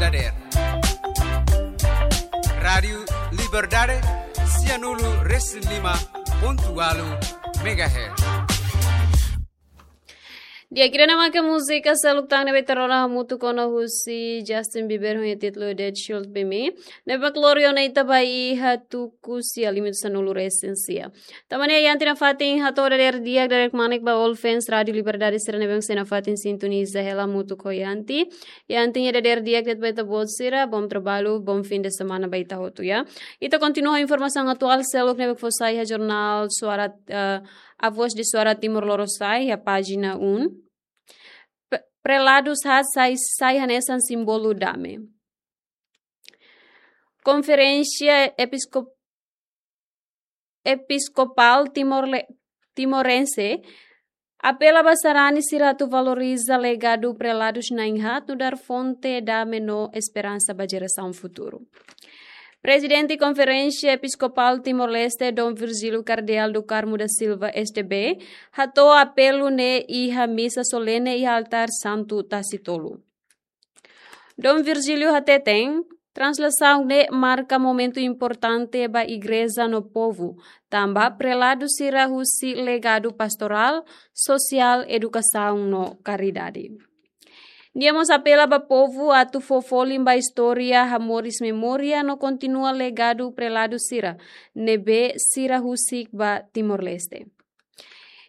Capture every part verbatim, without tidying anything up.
Dader. Rádiu Liberdade, sianulu resin lima pontu ualu megahertz. Di'ak, ida-ne'e maka múzika seluk tan ne'ebé ita rona hamutuk ona husi Justin Bieber ho nia títulu That Should Be Me. Ne'ebé mak lori ona ita ba iha tuku sia limitu sanulu resin sia. Tanba ne'e Yanti nafatin hato'o dader di'ak, dader kmanek ba all fans Rádiu Liberdade sira ne'ebé sei nafatin sintoniza hela hamutuk ho Yanti. Yanti nia dader di'ak de'it ba ita-boot sira, bom trabalho, bom fim de semana ba ita hotu, ya. Ita kontinua ho informasaun atuál seluk ne'ebé fó sai iha jornál Suara, eh, A Voz de Suara Timor Lorosa'e, iha pájina um. Pe-, preladus haat sai, sai hanesan símbolu dame. Konferénsia Episkop-, Episkopál Timor-Le-, Timorense apela ba sarani sira atu valoriza legadu preladus na'in-haat nu'udar fonte dame no esperansa ba jerasaun futuru. Prezidente Konferénsia Episkopál Timor-Leste, Dom Virgílio Kardeál do Carmo da Silva, S D B, hato'o apelu ne'e iha misa solene iha altár Santu Tasitolu. Dom Virgílio hateten, translasaun ne'e marka momentu importante ba igreja no povu, tanba preladu sira husi legadu pastorál, sosiál, edukasaun no karidade. Nia mós apela ba povu atu fó folin ba istória, hamoris memória no kontinua legadu preladu sira, ne'ebé sira husik ba Timor-Leste.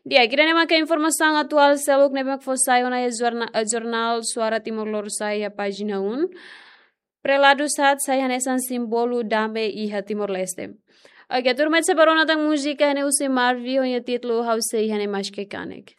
Di'ak, ida-ne'e maka informasaun atuál seluk ne'ebé mak fó sai ona iha jorna-, eh, jornál Suara Timor Lorosa'e iha pájina um. Preladus haat sai hanesan símbolu dame iha Timor-Leste. Oke, tuirmai ita sei bá rona tan múzika ne'e husi Marvin ho nia títulu Ha'u Sei Iha Ne'e Maske Kanek.